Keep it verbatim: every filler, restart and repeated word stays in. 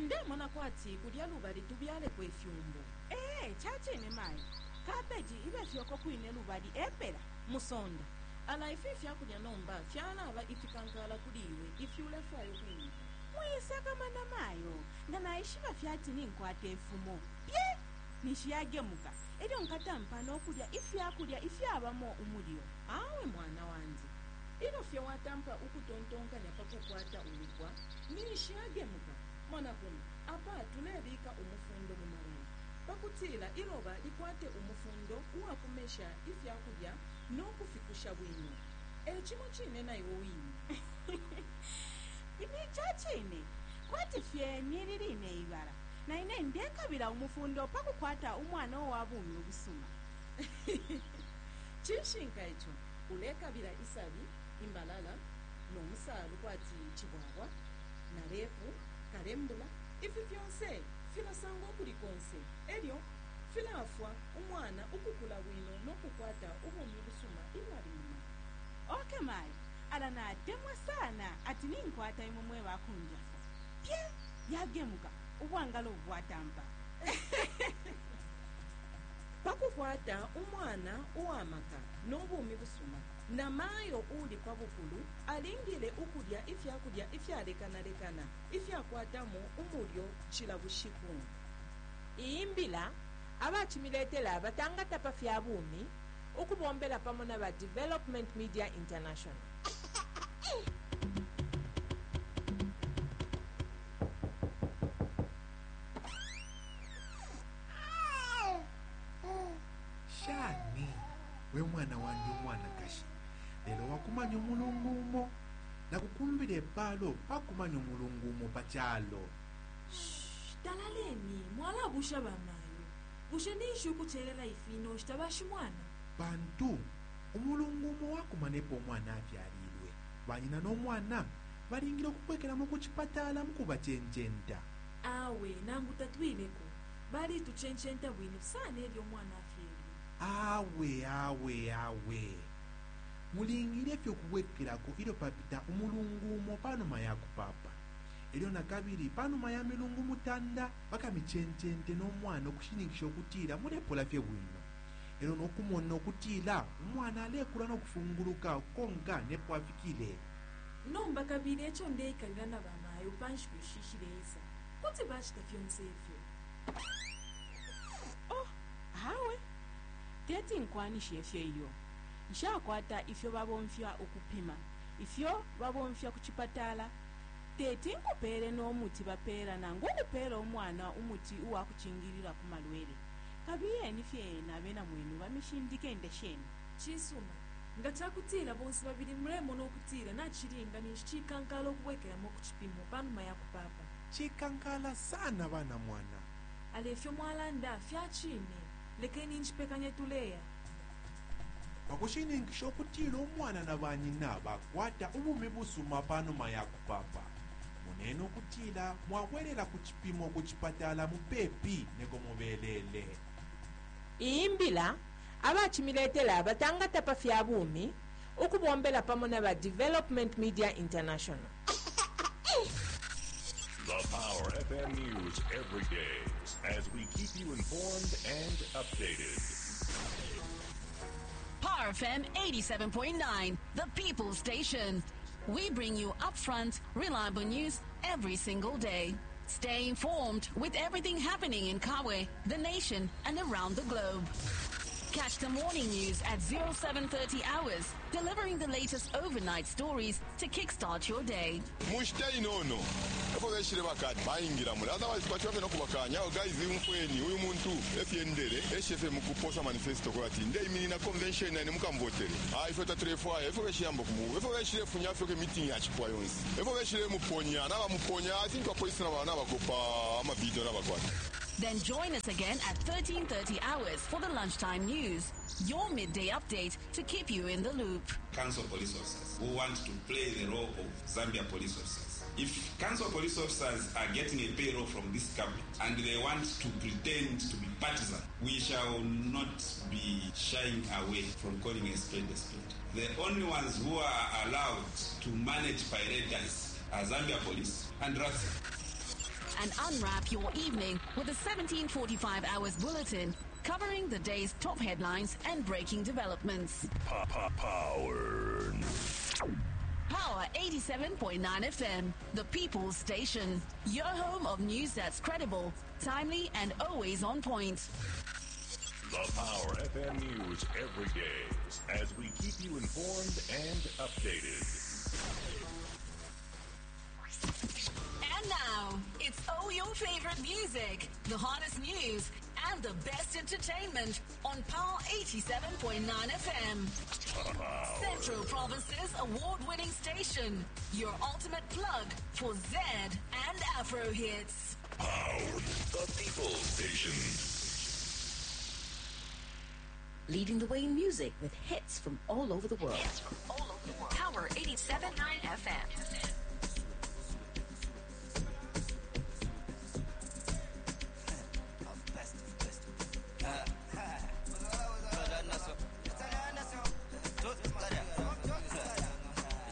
Ndemona kwati kulya lubali tubyaleko ifyumbu. Ee, cacine mayo. Kabeji ibe fyoko kwine lubali epela. Musonda, ala ifi ifyakulya nomba fyalaba ifikankala kuli iwe ifi ulefwaya ukwimika. Mwisakamana mayo, nga naishiba fyati ninkwata ifumo. Pye! Ninshi yagemuka. Elyo nkatampa nokulya ifyakulya ifyabamo umulyo. Awe mwana wandi, ilyo fye watampa ukutontonkanya pa kukwata ulupwa, ninshi yagemuka. Mona kuno, apa tulebika umufundo mu mabala pakutila iloba likwate umufundo uwakumesha ifyakulya no kufikusha bwino. E cimo cine na iwe wine. Ini cacine. Kwati fye nili line ibala. Na ine ndekabila umufundo pa kukwata umwana uwa bumi ubusuma. Cishinka ico, ulekabila isabi, imbalala, no musalu kwati cibwabwa, na repu, kalembula, ifi fyonse filasangwa ukuli konse. Elyo filafwa umwana ukukula bwino no kukwata ubumi busuma ilyo ali mu mala. Okay mayo, ala natemwa sana ati ninkwata imwe mwe bakunjafwa. Pye! Yagemuka, ubwangalo bwatampa. Pakukwata umwana uwamaka no bumi busuma, na mayo uli pa bukulu alingile ukulya ifyakulya ifyalekanalekana ifyakwatamo umulyo cila bushiku. Iyi mbila abacimiletela batangata pa fya bumi ukubombela pamo na ba Development Media International. Shani we mwana wandi umwanakashi, lelo wakumanya umulungu umo nakukumbila epalo pakumanya umulungu umo pa calo. Talaleni, mwalabusha bamayo. Bushe ninshi ukucelela ifi noshita bashimwana? Pantu umulungu umo wakumanepo umwana afyalilwe, banyina n'omwana balingile okubwekeramo ku chipatala mukubachencenta. Awe, nangu tatwileko. Balituchencenta bwino sana elyo umwana afyelwe. Awe awe awe, mulingile fye okubwekerako ilyo papita umulungu umo panuma ya kupapa. Elyo nakabili panuma ya milungu mutanda bakamichencente n'omwana okushininkisha okutila mulepola fye bwino. Elyo n'okumona okutila umwana alekula n'okufunguluka konka nepo afikile. Nomba kabili eco ndeikalila na bamayo pa nshiku ishi shileisa. Kuti bacita fyonse ifyo. Oh, awe. Teti nkwanishe ifyo iyo. Nshakwata ifyo babomfya ukupima, ifyo babomfya ku chipatala. Teti nkupeele n'omuti bapeela nangu ukupeela umwana umuti uwa kucingilila ku malwele. Kabiyeni fye na abena mwenu bamishindike ndesheni. Cisuma, nga cakutila bonse babili mulemona ukutila nacilinga ninshi cikankala ukubwekelamo ku cipimo panuma ya kupapa. Cikankala sana bana mwana. Ale ifyo mwalanda fyacine. Lekeni nchipekanye tuleya. Pakushininkisha okutila umwana na banyina bakwata ubumi busuma panuma ya kupapa, munene okutila mwabwerera ku cipimo ku chipatala mupepi neko mubelele. Iyi mbila abacimiletela batangata pa fya bumi ukubombela pamo na ba Development Media International. The Power F M News every day as we keep you informed and updated. Power F M eighty-seven point nine, the People Station. We bring you upfront, reliable news every single day. Stay informed with everything happening in Kabwe, the nation, and around the globe. Catch the morning news at oh seven thirty hours, delivering the latest overnight stories to kickstart your day. Mushita inono efo beshile bakati bayingira muli, otherwise twachibafye nokubakanya. Awo guys, umfweni uyu muntu efyendele eshefe mukuposa manifesto kwati ndeiminina convention nane mukamvotere. Ah, ifwe tatulefwaya efo beshiyamba kumu efo beshile funya fyoke meeting yachipwa yonse efo beshile muponya nabamuponya. I think apolisi nabakopa amavideo nabakwata. Then join us again at thirteen thirty hours for the lunchtime news, your midday update to keep you in the loop. Council police officers who want to play the role of Zambia police officers. If council police officers are getting a payroll from this government and they want to pretend to be partisan, we shall not be shying away from calling a spade a spade. The only ones who are allowed to manage paradise are Zambia police and RATSA. And unwrap your evening with the seventeen forty-five hours bulletin, covering the day's top headlines and breaking developments. Power. Power eighty-seven point nine F M, the people's station. Your home of news that's credible, timely, and always on point. The Power F M News every day as we keep you informed and updated. And now, it's all your favorite music, the hottest news, and the best entertainment on Power eighty-seven point nine F M. Central Province's award-winning station. Your ultimate plug for Z and Afro hits. Power. The People's Station. Leading the way in music with hits from all over the world. Hits from all over the world. Power eighty-seven point nine F M.